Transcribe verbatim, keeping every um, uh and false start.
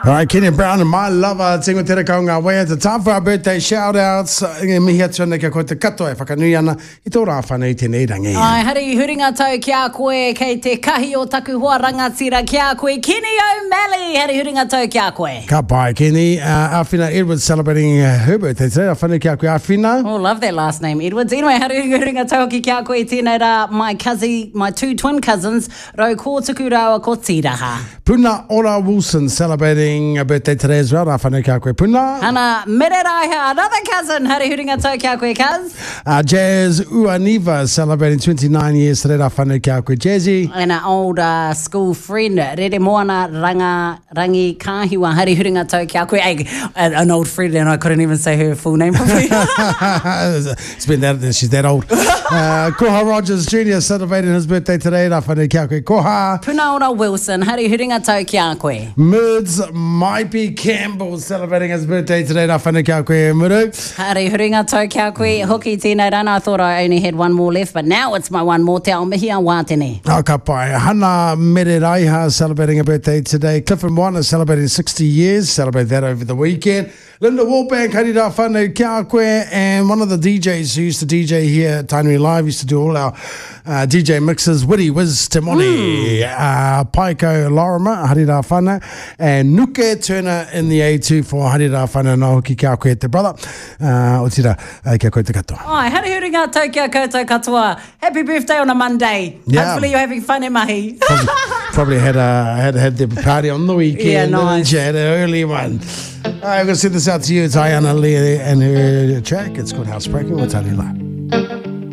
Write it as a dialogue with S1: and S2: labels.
S1: All right, Kenny Brown and my lover, tingo te rakau ngā waiata. Time for our birthday shout outs. E mihi atu ana kia koe te katoa e whakanui ana i tō rā whanau i tēnei rangi.
S2: Ai, hari huringa tau ki a koe, kei te kahi o taku hoa rangatira ki a koe, Kenny O'Malley, hari huringa tau ki a koe.
S1: Ka pai, Kenny. Uh, Awhina Edwards celebrating uh, her birthday today. A whanau ki a koe, Awhina.
S2: Oh, love that last name, Edwards. Anyway, hari huringa tau hoki ki a koe tēnei rā, my cousin, my two twin cousins, Rau Kōtuku rāua ko Tīraha.
S1: Puna Ora Wilson celebrating a birthday today as well. Rā whanau ki a koe, Puna.
S2: Hana Mereraiha, another cousin, hari huringa tau ki a koe, cuz.
S1: Uh, Jazz Uaniva celebrating twenty-nine years today. Rā whanau ki a koe, Jazzy.
S2: And an old uh, school friend, Rere Moana Ranga, Rangi Kahiwa, hari huringa tau ki a koe. Hey, an old friend, and I couldn't even say her full name properly.
S1: It's been that, she's that old. Uh, Koha Rogers Junior celebrating his birthday today. Rā whanau ki a koe, Koha.
S2: Puna Ora Wilson, hari huringa tau ki a koe.
S1: Murds Maipi Campbell celebrating his birthday today. Rā whanau ki a koe, Muru.
S2: Hari huringa tau ki a koe. Hoki tēnei rana, I thought I only had one more left, but now it's my one more. Te ao mihi a wātene.
S1: Oh, ka pai. Hana Mereraiha celebrating a birthday today. Clifford Moana celebrating sixty years. Celebrate that over the weekend. Linda Wallbank, hari rā whanau ki a koe. And one of the D Js who used to D J here at Tainui Live, used to do all our uh, D J mixes, Witty Wiz Te Moni, mm. uh, Paiko Lorimer, hari rā whanau, and Nuke Turner in the A two for hari rā whanau nā hoki ki a koe te brother. Uh, o tira, uh, kia koe te katoa.
S2: Ai, hari huringa tau kia koutou katoa. Happy birthday on a Monday.
S1: Yeah.
S2: Hopefully you're having fun e mahi.
S1: Probably, probably had a, had, had the party on the weekend.
S2: Yeah, nice.
S1: Had an early one. All right, we're going to send this out to you. It's Ayana Lee and her track. It's called Housebreaking with Tainui Live.